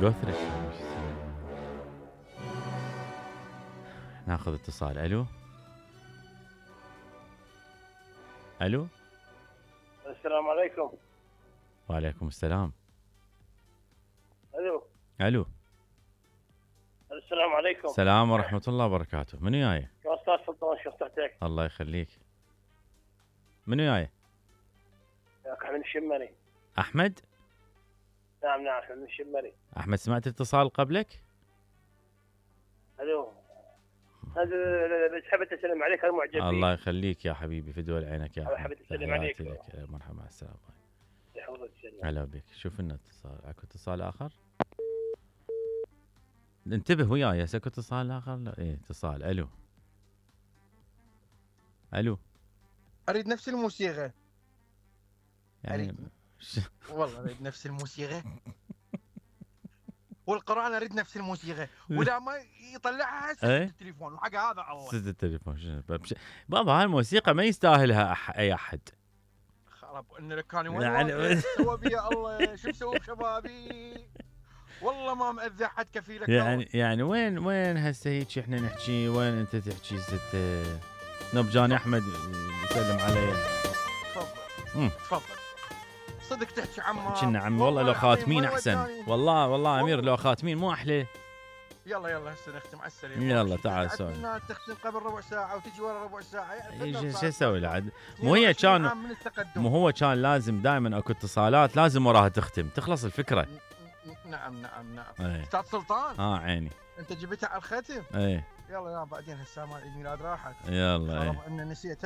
قثرك. ناخذ اتصال. الو الو. السلام عليكم. وعليكم السلام. الو الو. السلام عليكم. السلام ورحمة الله وبركاته. منو جاي؟ يا استاذ سلطان، شو صحتك؟ الله يخليك. منو جاي؟ ياك احمد الشمري. احمد؟ نعم احمد الشمري. احمد سمعت اتصال قبلك؟ الو. هذا حبيت اسلم عليك المعجبين. الله يخليك يا حبيبي، في دول عينك يا احمد. حبيت اسلم عليك. مرحبا، مع السلامة. يحفظك السلام. هلا بك. شوف لنا اتصال. اكو اتصال اخر؟ انتبه وياي، اكو اتصال اخر؟ لا. ايه اتصال. الو الو. اريد نفس الموسيقى يعني والله اريد نفس الموسيقى والقرآن اريد نفس الموسيقى، ولا ما يطلعها سد التليفون وحق هذا الله. سد التليفون. بابا هاي الموسيقى ما يستاهلها اي احد. خرب ان لك كان وين سوى بيا الله، شو مسوي بشبابي؟ والله ما مأذي احد كفيلك. يعني وين هسه هيك احنا نحكي، وين انت تحكي ست نبجاني احمد يسلم علي. تفضل صدق تحكي عمار. كنا عمي والله لو خاتمين احسن. والله امير لو خاتمين مو احلى. يلا هسه نختم على السريع. يلا تعال سولف. تختم قبل ربع ساعه وتجي ورا ربع ساعه. شو اسوي له؟ مو هو كان لازم دائما اكو اتصالات لازم وراها تختم تخلص الفكره. نعم استاذ سلطان. عيني. انت جبتها على الختم. ايه يلا بعدين هسه مال عيد ميلاد راحت. يلا ان نسيت.